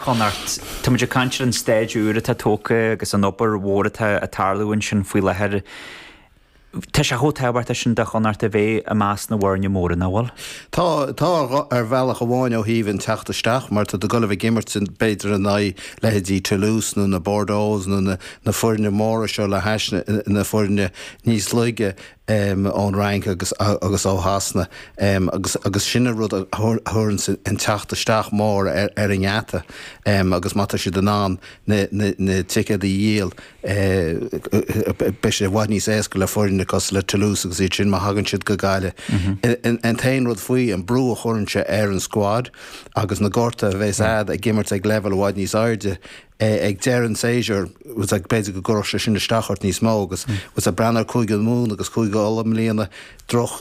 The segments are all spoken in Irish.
Chonnacht. Tá muid ag caint ar an staid úr atá tógtha agus an obair mhór atá ag tarlú ansin faoi láthair. Tá sé chomh tábhachtach sin do Chonnacht a bheith i measc na bhfoirne móra, nach bhfuil? Tá, tá ar bhealach amháin ó thaobh an teacht isteach mar tá tú ag dul a bheith ag imirt b'fhéidir in aghaidh leithéidí Toulouse nó na Bordeaux nó na foirne móra seo le hais na foirne níos laige. ón Fhrainc agus agus ó Shasana agus agus sin an rud a thabharanns an teacht isteach mór ar ar an ngeata agus má tá siad in ann na na na ticéid a dhíol beidh sé i bhfad níos éasca le foirne cosúil le Toulouse agus iad sin má thagann siad go Gaillimh. An t-aon rud faoi an brú a chuireann sé ar an squad agus na gortuithe a bheas a'd ag imirt ag leibhéal i bhfad níos airde ag deireadh an tséasúir, b'fhéidir go gcuirfeadh sé sin isteach ort níos mó agus ag breathnú ar Cúige Mumhan agus Cúige Uladh i mbliana, droch,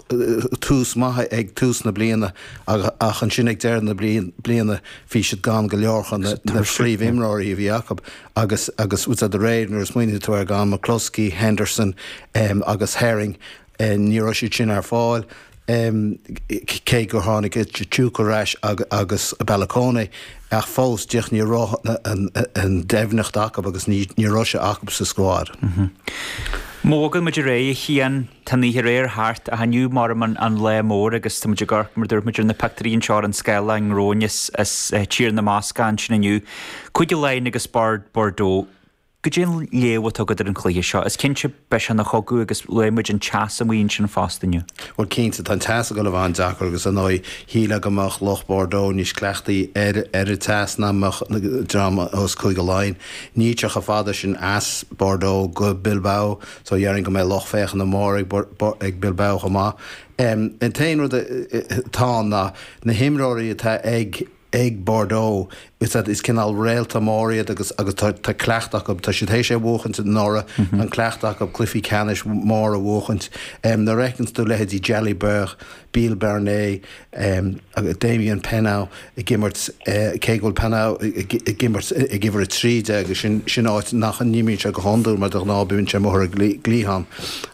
tús maith ag tús na bliana ach ansin ag deireadh na bliana bhí siad gan go leor de na phríomhimreoirí a bhí acu agus agus de réir nuair a smaoiníonn tú ar gan McCloskey, Henderson agus Herring Ní raibh siad sin ar fáil, cé gur tháinig Tshitsuka ar ais agus Balakone, ach fós, díreach ní raibh an doimhneacht acu agus ní raibh sé acu sa squad. Má bhogann muid ar aghaidh, a Chian, tá an oíche aréir thart ach inniu maram an lá mór agus tá muid ag amharc, mar dúirt muid, ar na pictiúirí anseo ar an scáileán romhainn as Tír na mBascach ansin inniu. Cúige Laighean agus Bordeaux. Goidé an léamh atá agat ar an chluiche seo? Is cinnte beidh sé ina chogadh agus luaigh muid an teas amuigh ansin fosta inniu. Bhuel cinnte, tá an teas ag dul a bheith an-deacair agus ar ndóigh shílfeá go mbeadh lucht Bordeaux níos cleachtaí ar ar an teas ná mbeadh dream as Cúige Laighean. Níl sé chomh fada sin as Bordeaux go Bilbao so déarfainn go mbeidh lucht féachana mór ag ag Bilbao chomh maith. An t-aon rud atá ann ná na himreoirí atá ag ag Bordeaux. Is is cineál réalta mór iad agus agus tá tá cleachtadh acu. Tá siad théis é a bhuachaint anuraidh. Tá an cleachtadh acu cluichí ceannais mór a bhuachaint. Nuair a fheiceanns tú leithéidí Jalibert, Biel Barnet, agus Damian Penaud ag imirt, cé go bhfuil Penaud ag imirt ag uimhir 13 agus sin sin áit nach n-imríonn sé go hiondúil mar de ghnáth bíonn sé amuigh ar an gcliathán.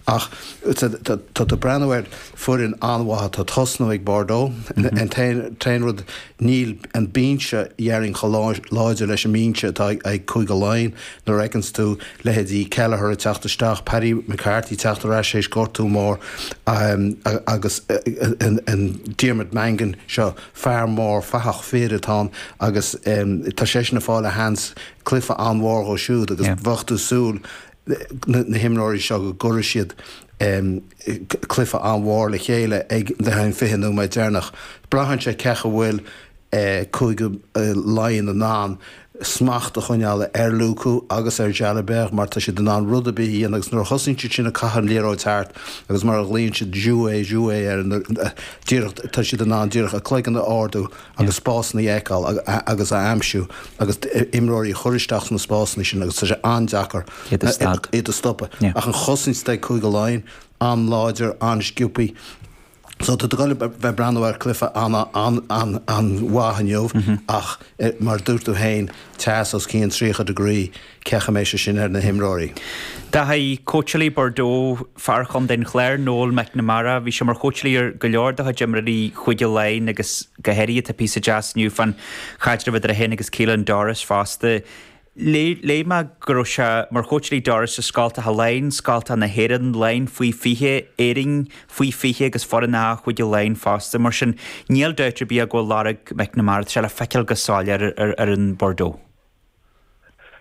Ach tá tá tú ag breathnú ar foireann an-mhaith atá ag tosnú ag Bordeaux. An t-aon rud, níl an binse, dhéarfainn, chomh láidir leis an mbinse atá ag Cúige Laighean. Nuair a fheiceanns tú leithéidí Kelleher ag teacht isteach, Paddy McCarthy ag teacht ar ais théis gortú mór agus an Diarmuid Mangan seo, fear mór fathach fir atá ann agus tá seisean ag fáil a sheans cluiche an-mhór dhó siúd agus bheadh tú ag súil na himreoirí seo go gcuirfidh siad cluiche an-mhór le chéile ag an 20 nóiméad deireanach. Braitheann sé cé chaoi a bhfuil Cúige Laighean in ann smacht a choinneáil ar Lucu agus ar Jalibert mar tá siad in ann rud ar bith a dhéanamh agus nuair a thosaíonn siad sin ag caitheamh an liathróid thart agus mar a ghlaonn siad jouer jouer air díreach tá siad in ann díreach a cloigeann a ardú agus spásanna a fheiceáil agus a aimsiú agus imreoirí a chur isteach sna spásanna sin agus tá sé an-deacair iad a stopadh. Ach an chosaint atá ag Cúige Laighean, an-láidir, an-sciobthaí. So tá tú ag dul a bheith ag breathnú ar chluiche an-mhaith inniu ach mar a dúirt tú féin, teas os cionn 30 degree. Cén chaoi a mbeidh sé sin ar na himreoirí. Dáithí, cóitseálaí Bordeaux, fear Chontae an Chláir, Noel McNamara, bhí sé mar chóitseálaí ar go leor de chuid imreoirí Chúige Laighean agus go háirithe tá píosa deas inniu fán chaidreamh idir é féin agus Caelan Doris fosta. Léigh mé go raibh sé mar chóitseálaí Doris i Scoltacha Laighean, Scoltacha na hÉireann, Laighean faoi 20, Éirinn faoi 20 agus foireann A Chúige Laighean fosta. Mar sin, níl dabht ar bith go bhfuil lorg McNamara, tá sé le feiceáil go soiléir ar fhoireann Bordeaux.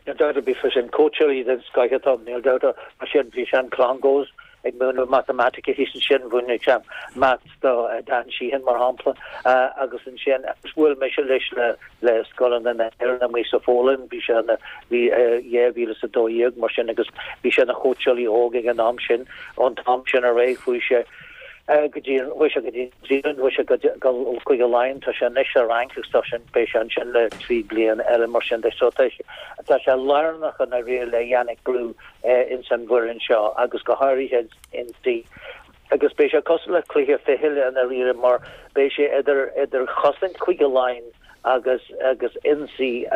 Níl dabht ar bith faoi sin. Cóitseálaí den scoith atá ann, níl dabht air. Mar sin, bhí sé in Clongowes ag múineadh matamaitice thíos ansin, mhúin sé maths do Dan Sheehan, mar shampla, agus ansin bhuail mise leis le scoileanna na hÉireann amuigh sa Pholainn, bhí sé ina, bhí 2012, mar sin, agus bhí sé ina chóitseálaí óg ag an am sin. Ón t-am sin ar aghaidh chuaigh sé go dtí, chuaigh sé go dtí New Zealand, chuaigh sé go go Cúige Laighean, tá sé anois sa Fhrainc agus tá sé, beidh sé ansin le 3 bliana eile mar sin de. So tá sé, tá sé lárnach i ndáiríre le Yannick Bru ins an bhfoireann seo agus go háirithe ionsaí. Agus beidh sé cosúil le cluiche fichille i ndáiríre mar beidh sé idir, idir chosaint Chúige Laighean agus, agus ionsaí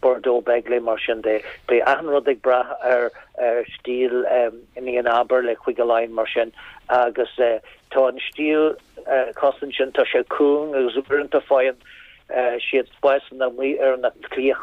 Bordeaux-Bègles mar sin de. Beidh achan rud ag brath ar, ar stíl Nienaber le Cúige Laighean mar sin agus Tá an stíl cosaint sin, tá sé cúng agus uaireanta faigheann. siad spásanna amuigh ar na cliath.